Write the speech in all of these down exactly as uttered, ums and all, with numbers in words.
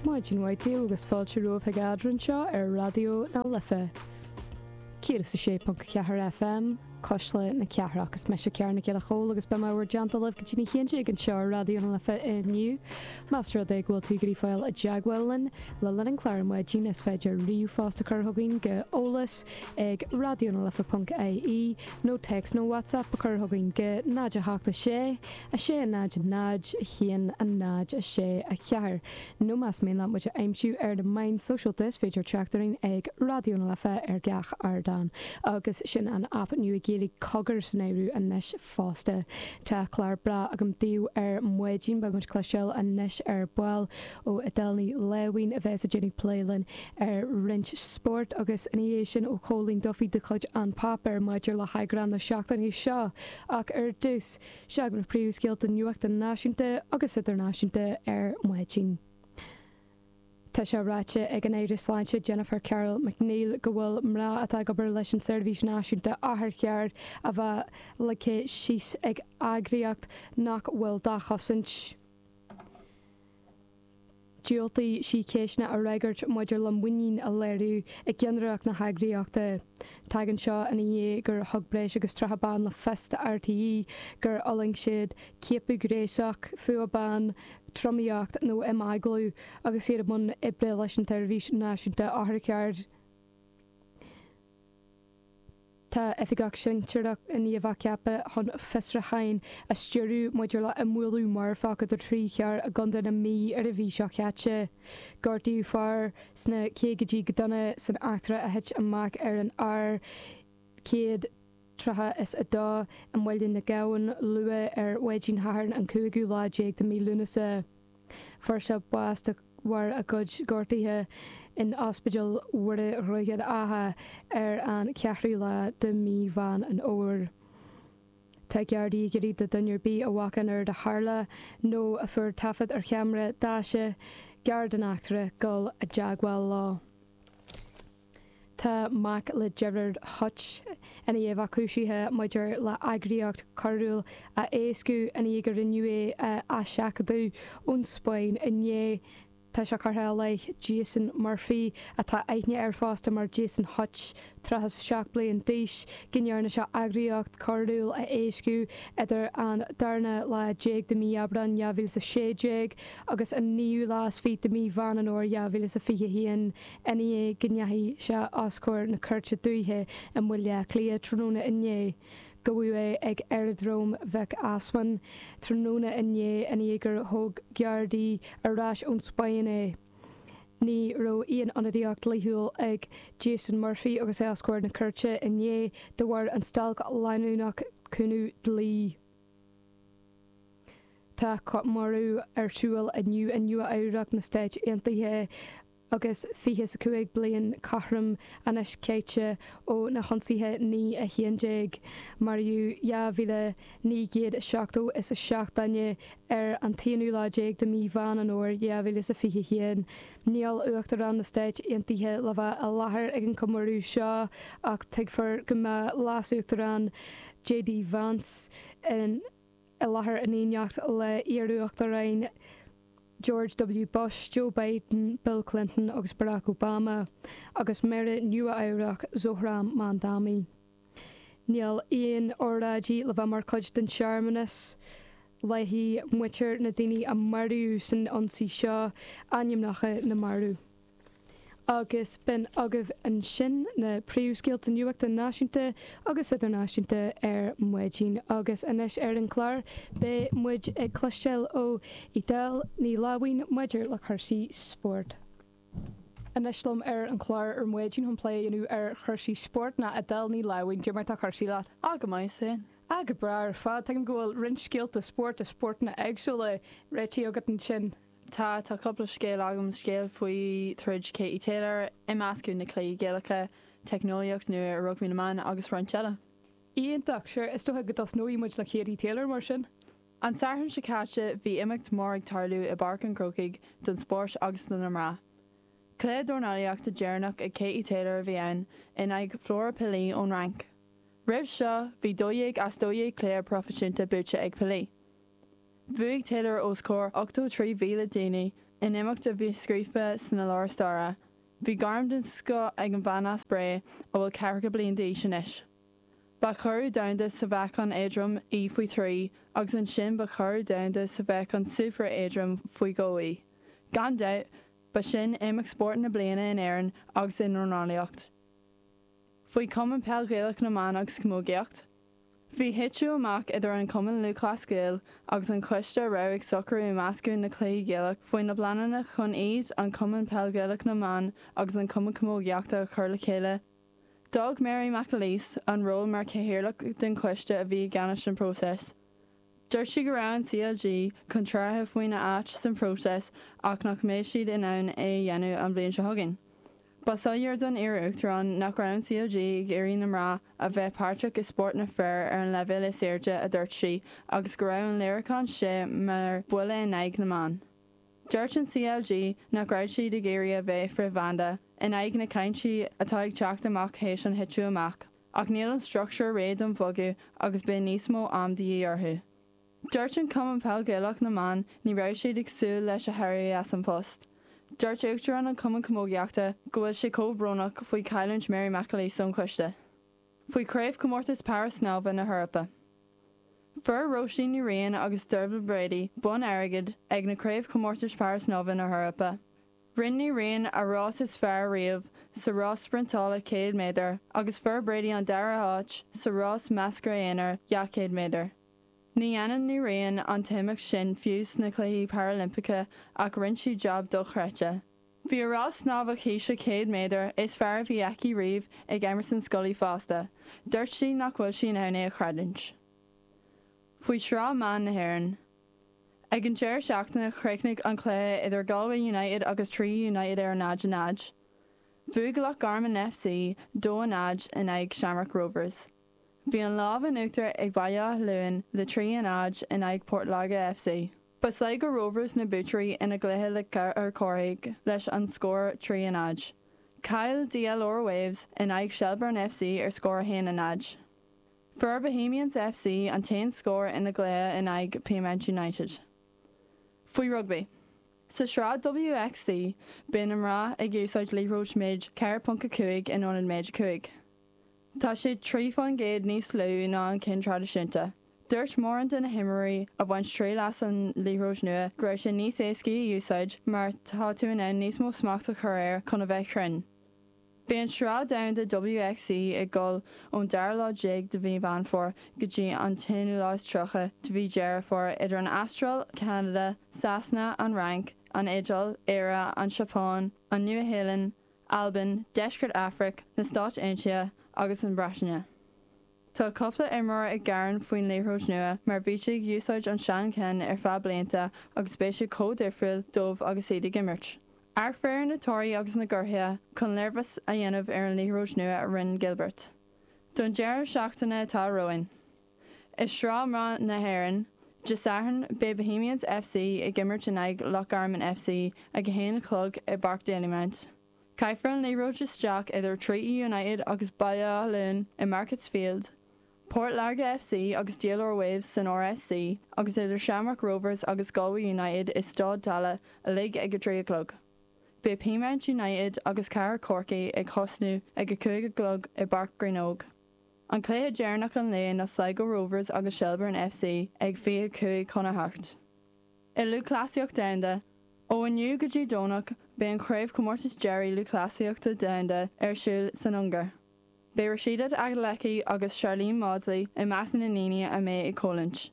Maidin mhaith daoibh agus fáilte romhaibh chuig Eadrainn anseo ar Raidió na Life. céad is a sé ponc a ceathair FM, Cuisle na Cathrach. Is mise Ciara Nic Giolla Chóill agus beidh mé i bhur dteannta libh go dtí a haon déag anseo ar Raidió na Life inniu. Más rud é go bhfuil tú ag iarraidh fáil i dteagmháil linn le linn an chláir ar maidin is féidir ríomhphost a chur chugainn go eolas ag raidionalife ponc ie nó téacs nó WhatsApp a chur chugainn go náid a hocht a sé, a sé a náid a náid, a haon a náid a sé a ceathair. Nó más mian leat muid a aimsiú ar na meáin sóisialta is féidir teacht orainn ag Raidió na Life ar gach ardán. Agus sin an aip nua Gaeilge Cogar san áireamh anois fosta. Tá clár breá agam daoibh ar maidin, beidh muid ag cloisteáil anois ar ball ó Edel Ní Láimhín a bheas ag déanamh plé linn ar roinnt spóirt agus ina dhiaidh sin ó Chóilín Duffy de chuid An Páipéar maidir le heagrán na seachtaine seo. Ach ar dtús, seo na príomhscéalta nuachta náisiúnta agus idirnáisiúnta ar maidin. Tá sé ráite ag an Aire Sláinte Jennifer Carroll MacNeill go bhfuil mná atá ag obair leis an Seirbhís Náisiúnta Otharcharr a bheith ligthe síos ag eagraíocht nach bhfuil dá chosaint. Dhiúltaigh sí ceisteanna a fhreagairt maidir le muinín a léiriú i gceannaireacht na heagraíochta. Tagann seo ina dhiaidh gur thug breis agus tríocha bean le fios do RTÉ gur fhulaing siad ciapadh gnéasach, fuath ban, tromaíocht nó imeaglú agus iad i mbun oibre leis an tSeirbhís Náisiúnta Otharcharr. Tá oifigeach sinsearach i ndiaidh a bheith ceaptha chun fiosrúcháin a stiúradh maidir le imbhualadh marfach idir trí charr i gContae na Mí ar an mhí seo caite. Gortaíodh fear sna caogaidí go dona san eachtra a thit amach ar an R céad tríocha is a dó i mBaile na gCabhán luath ar mhaidin Shathairn an cúigiú lá déag de mhí Lúnasa. Fuair sé bás de bharr a chuid gortuithe in Ospidéal Mhuire Dhroichead Átha ar an cheathrú lá de mhí Mheán an Fhómhair. Tá Gardaí ag iarraidh do dhuine ar bith a bhfaca an rud a tharla nó a fuair taifead ar cheamara daise gar don eachtra dul i dteagmháil leo. Tá mac le Gerard Hutch i ndiaidh a bheith cúisithe maidir le eagraíocht choiriúil a éascú i ndiaidh gur rinneadh é a eiseachadadh ón Spáinn inné. Tá sé curtha i leith Jason Murphy, atá aithne air fosta mar Jason Hutch, tríocha is a seacht bliain d'aois, go ndearna sé eagraíocht choiriúil a éascú idir an darna lá déag de mhí Aibreáin dhá mhíle is a sé déag agus an naoú lá is fiche de mhí Mheán an Fhómhair dhá mhíle is a fiche a haon. I ndiaidh go ndeachaigh sé os comhair na Cúirte Dúiche i mBaile Átha Cliath tráthnóna inné, gabhadh é ag Aeradróm Mhic Easmainn tráthnóna inné i ndiaidh gur thóg Gardaí ar ais ón Spáinn é. Ní raibh aon ionadaíocht dhlíthiúil ag Jason Murphy agus é os comhair na cúirte inné de bharr an stailc leanúnach cúnamh dlí. Tá comóradh ar siúl inniu i Nua Eabhrac na Stáit Aontaithe agus fiche is a cúig bliain cothrom anois caite ó na hionsaithe naoi a haon déag. Maraíodh dhá mhíle naoi gcéad is seachtó is a seacht duine ar an t-aonú lá déag de mhí Mheán an Fhómhair dhá mhíle is a fiche a haon. Níl Uachtarán na Stáit Aontaithe le bheith i láthair ag an chomóradh seo ach tuigfear go mbeidh Leas-Uachtarán J D Vance in i láthair in éineacht le hiar-uachtaráin George W. Bush, Joe Biden, Bill Clinton agus Barack Obama, agus Méara Nua-Eabhrac Zohran Mamdani. Níl aon óráidí le bheith mar chuid den searmanas. Léifidh muintir na ndaoine a maraíodh san ionsaí seo ainmneacha na marbh. Agus b'in agaibh ansin na príomhscéalta nuachta náisiúnta agus idirnáisiúnta ar maidin. Agus anois ar an chlár beidh muid ag cloisteáil ó Edel Ní Láimhín maidir le cúrsaí spóirt. Anois liom ar an chlár ar maidin chun plé a dhéanamh ar chúrsaí spóirt ná Edel Ní Láimhín. Cad é mar tá cúrsaí leat? Á go maith sin. Á go breá ar fad. Tuigim go bhfuil roinnt scéalta spóirt i spórtanna éagsúla réitithe agat ansin. Tá tá cúpla scéal agam scéal faoi troid Katie Taylor, imeascadh na cluichí Gaelacha, teicneolaíocht nua i rugbaí na mban agus roinnt eile. Iontach, sure is dócha go dtosnóidh muid le Katie Taylor mar sin. An Satharn seo caite bhí imeacht mór ag tarlú i bPáirc an Chrócaigh don spórt agus do na mná. Cluiche dornálaíochta deireanach ag Katie Taylor a bhí ann in aghaidh Flora Pili ón Fhrainc. Roimh seo bhí dó dhéag as dó dhéag cluiche proifisiúnta buaite ag Pili. Bhuaigh Taylor os comhair ochtó trí mhíle daoine in imeacht a bhí scríofa sna leabhair staire. Bhí gairm den scoth ag an bhean as Bré a bhfuil ceathracha bliain d'aois anois. Ba churadh domhanda sa mheáchan éadrom í faoi trí agus ansin ba churadh domhanda sa mheáchan super éadrom faoi dhó í. Gan dabht, ba sin imeacht spóirt na bliana in Éirinn agus i ndornálaíocht. Faoi Cumann Peil Ghaelach na mBan agus Camógaíocht. Bhí titiú amach idir an Cumann Lúthchleas Gael agus an coiste a raibh ag socrú imeascadh na cluichí Gaelach faoi na pleananna chun iad an Cumann Peil Ghaelach na mBan agus an Cumann Camógaíochta a chur le chéile. D'fhág Mary McAleese an ról mar chathaoirleach den choiste a bhí i gceannas an próiseas. Dúirt sí go raibh an CLG contrártha faoina áit san próiseas ach nach mbeidh siad in ann é a dhéanamh an bhliain seo chugainn. Ba soiléir don iar-uachtarán nach raibh an CLG ag iarraidh na mná a bheith páirteach i spórt na bhfear ar an leibhéal is airde a dúirt sí agus go raibh an léiriúchán sé mar bhuille in aghaidh na mban. Dúirt an CLG nach raibh siad ag iarraidh a bheith frithbhanda in aghaidh na cainte atá ag teacht amach théis an titiú amach, ach níl an struchtúr réidh don bhogadh agus beidh níos mó am de dhíth orthu. Dúirt an Cumann Peil Ghaelach na mBan ní raibh siad ag súil leis a héirí as an post. Dúirt Uachtarán an Cumann Camógaíochta go bhfuil sé chomh brónach faoi chailliúint Mary McAleese ón choiste. Faoi Chraobhchomórtas Para-Snámha na hEorpa. Fuair Róisín Ní Riain agus Dervla Brady bonn airgid ag na Craobhchomórtais Para-Snámha na hEorpa. Rinne Ní Riain a rás is fearr riamh sa rás spriontála céad méadar agus fuair Brady an dara háit sa rás measctha aonair dhá chéad méadar. Ní dhéanann Ní Riain an t-imeacht sin fiú sna Cluichí Parailimpeacha ach rinne sí jab dochreidte. Bhí a rás snámha chíse céad méadar is fearr a bhí aici riamh ag Emerson Scully fosta, Dúirt sí nach bhfuil sí in ann é a chreidiúint. Faoi Shraith Mban na hÉireann. Ag an deireadh seachtaine chríochnaigh an cluiche idir Galway United agus Tralee United ar náid a náid. Bhuaigh Loch Garman FC dó a náid in aghaidh Shamrock Rovers. Bhí an lámh in uachtar ag Baile Átha Luain le trí a náid in aghaidh Port Láirge FC. Ba Sligo Rovers na buaiteoirí ina gcluiche le Cill Chárthaigh leis an scór trí a náid. Chaill DLR Waves in aghaidh Shelbourne FC ar scór a haon a náid. Fuair Bohemians FC an t-aon scór ina gcluiche in aghaidh Peamount United. Faoi rugbaí. Sa sraith WXC beidh na mná ag úsáid liathróid méid ceathair ponc a cúig in ionad méid cúig. Tá sé trí faoin gcéad níos lú ná an ceann traidisiúnta. Dúirt mórán de na himreoirí a bhain triail as an liathróid nua go raibh sé níos éascaí a úsáid mar tá tú in ann níos mó smacht a chur air chun a bheith cruinn. Beidh an sraith domhanda WXC ag dul ón dara lá déag de mhí Mheán Fómhair go dtí an t-aonú lá is tríocha de mhí Deireadh Fómhair idir an Astráil, Ceanada, Sasana, an Fhrainc, an Iodáil, Éire, an Seapáin, an Nua-Shéalainn, Albain, Deisceart Afraic, na Stáit Aontaithe agus an Bhreatain. Tá cúpla imreoir ag gearán faoin liathróid nua mar bhí siad ag úsáid an seancheann ar feadh blianta agus beidh sé chomh difriúil dóibh agus iad ag imirt. Amharc ar na torthaí agus na gortuithe chun léirmheas a dhéanamh ar an liathróid nua a rinne Gilbert. Don deireadh seachtaine atá romhainn. I Sraith Mná na hÉireann, Dé Sathairn beidh Bohemians FC ag imirt in aghaidh Loch Garman FC ag a haon a chlog i bPáirc Dalymount. Caithfear an liathróid isteach idir Treaty United agus Baile Átha Luain i Markets Field, Port Láirge FC agus DLR Waves san RSC agus idir Shamrock Rovers agus Galway United i Staid Tallaght uilig ag a trí a chlog. Beidh Peamount United agus Cathair Chorcaí ag tosnú ag a cúig a chlog i bPáirc Greenogue. An cluiche deireanach an lae ná Sligo Rovers agus Shelbourne FC ag fiche cúig chun a hocht. I lúthchleasaíocht domhanda, ó inniu go dtí Domhnach beidh an chraobhchomórtas deiridh lúthchleasaíochta domhanda ar siúl san Ungáir. Beidh Rhasidat Adeleke agus Sharlene Mawdsley i measc na ndaoine a mbeidh ag coimhlint.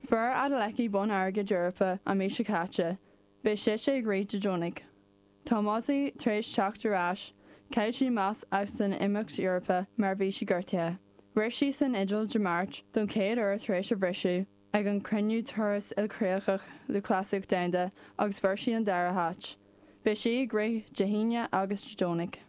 Fuair Adeleke bonn airgid Eorpach an mhí seo caite, beidh sise ag rith Dé Domhnaigh. Tá Mawdsley tar éis teacht ar ais, chaill sí amach as san imeacht Eorpach mar bhí sí gortaithe. Rith sí san Iodáil Dé Máirt don chéad uair tar éis a briseadh ag an cruinniú turas ilchríochach lúthchleasaíocht domhanda agus fuair sí an dara háit. Beidh sí ag rith Dé hAoine agus Dé Domhnaigh.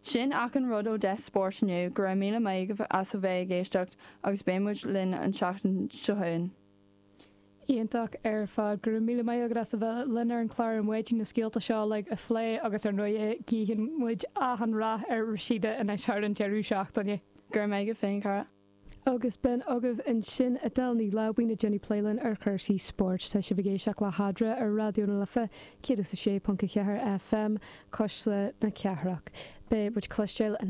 Sin achan rud ó Desk Sport inniu go raibh míle maith agaibh as a bheith ag éisteacht agus beidh muid linn an tseachtain seo chugainn. Iontach ar fad go raibh míle maith agat as a bheith linn ar an chlár ar maidin na scéalta seo le a phlé agus ar ndóigh guíonn muid achan rath ar Rhasidat anois thar an deireadh seachtaine. Gur méige féin cara. Agus b'in agaibh ansin Edel Ní Láimhín ag déanamh plé linn ar chúrsaí spóirt tá sibh ag éisteacht le hEadra ar Raidió na Life céad is a sé ponc a ceathair FM Cuisle na Cathrach. Beidh muid cloisteáil